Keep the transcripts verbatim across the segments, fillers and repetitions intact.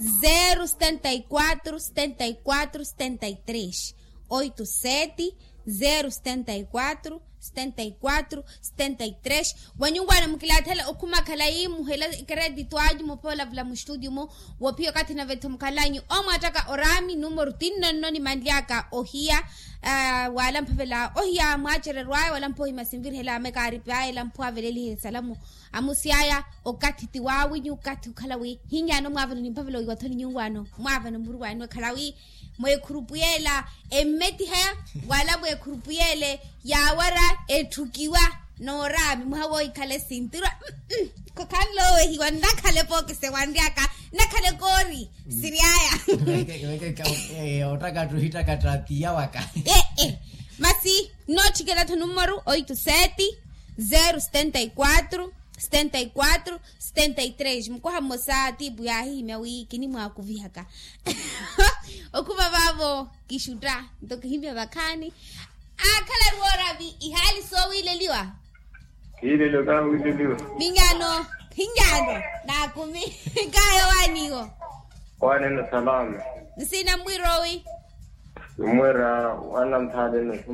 Zero setenta e quatro setenta e quatro setenta e três. Oito sete zero setenta e quatro setenta e quatro setenta e três. Wanyuwana mukilathela okhuma khalayi muhela. Kredito anyu mopholavula mu studio mu. Wophiya okathi navetho mukhalanyu omwattaka orami numero tinno nno nimanlyaka ohiya. Wala mphavela ohiya mwacererwaya wala mphohima sinvirihela amekaaripi aya ela mpho avelelihe salamu. Amusi aya okathi ti wawinyu okathi okhala wi hinyano mwavano nimphavelo iwathoni nyuwano mwavano muruwani okhala wi mweekhurupu yeela emmetiha wala mweekhurupu yeele yaawara etthukiwa. Noorami mwaha woohikhala esintirwa. Khokhanle owehiwa nnakhala epookise wanryaka nnakhala ekoori. Siryaya. Ottakattu ohittakattu atiya waka. Ee masi nnootthikela-tho numero oito sete zero setenta e quatro setenta e quatro setenta e três mukwaha mmosa tiipu yaahihimya wi kinimwaakuvihaka. Okhuma vaavo kixutta nto kihimya vakhaani. Akhalaru woorami ihaali soowileliwa. Kiileliwa kaawileliwa. Minyano hinyano naakumi. Kaayo waaniwo. Waanene salame. Nsina mmwirowi. Mmwira waana muthaali nne.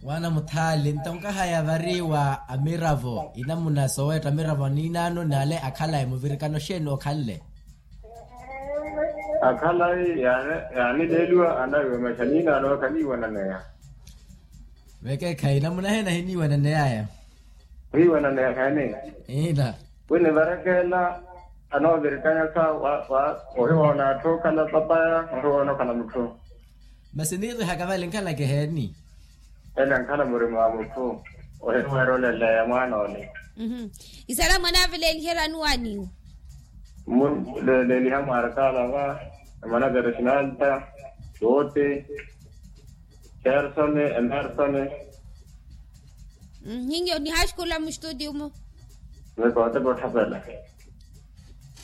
Waana muthaali nto nkahaya vari wa amiravo inamuna soowetta amiravo aniinaano n'ale akhalayi muvirikano xeeni okhanle. Akhalayi yaanileeliwa anawiwa maxa aniinaano khaniiwananeya. Vekeekhayi inamuna heena hiniiwananeyaya. Hiiwananeya heeni. Ina. Wini varekeela anoovirikanyaka wa ohiwoona atthu okhala papaya ohiwoona okhala mutthu. Masi niirihaka vale nkhalaka eheeni. Ela nkhala murima wa mutthu ohiweera oleleya mwaana ole. Isala mwana aveleliherya anuwaaniwo. Muleleeliha mwaarikala va emana personalta, toote, persone emersone. Hinyo nihaxikula mustudio mu. Mekoote koottapela.